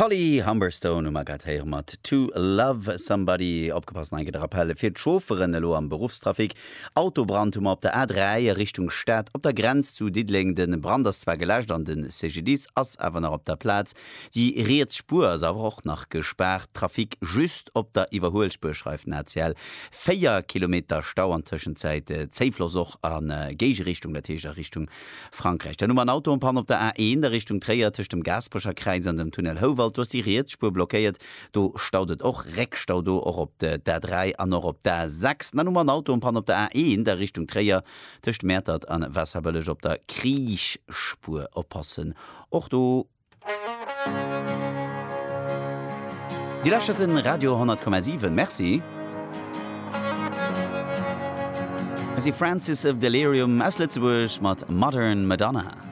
D'Holly Humberstone hu mer grad héiere mat To Love Somebody. Opgepasst, nach eng Kéier de Rappel fir d'Chaufferen elo am Beruffstrafic. Autobrand hu mer op der A3 a Richtung Stad op der Grenz zu Diddeleng. De Brand ass zwar geläscht an de CGDIS ass awer nach op der Plaz. Déi riets Spuer ass awer och nach gespaart. Trafic just op der Iwwerhuelspuer, schreift den ACL. 4 Kilometer Stau an Tëschenzäit Zéifloss och a Géigerichtung, dat heescht a Richtung Frankräich. Dann hu mer en Auto en panne op der A1 a Richtung Tréier tëscht dem Gaasperecher Kräiz an dem Tunnel Houwald. Do ass déi riets Spuer blockéiert. Do staut et och. Réckstau do och op d'A3 an och op d'A6. Dann hu mer en Auto en panne op der A1 a Richtung Tréier tëscht Mäertert an Waasserbëlleg op der Kriichspuer. Oppassen och do. Dir lauschtert den Radio 100,7. Merci. Hei si Francis of Delirium aus Lëtzebuerg mat Modern Madonna.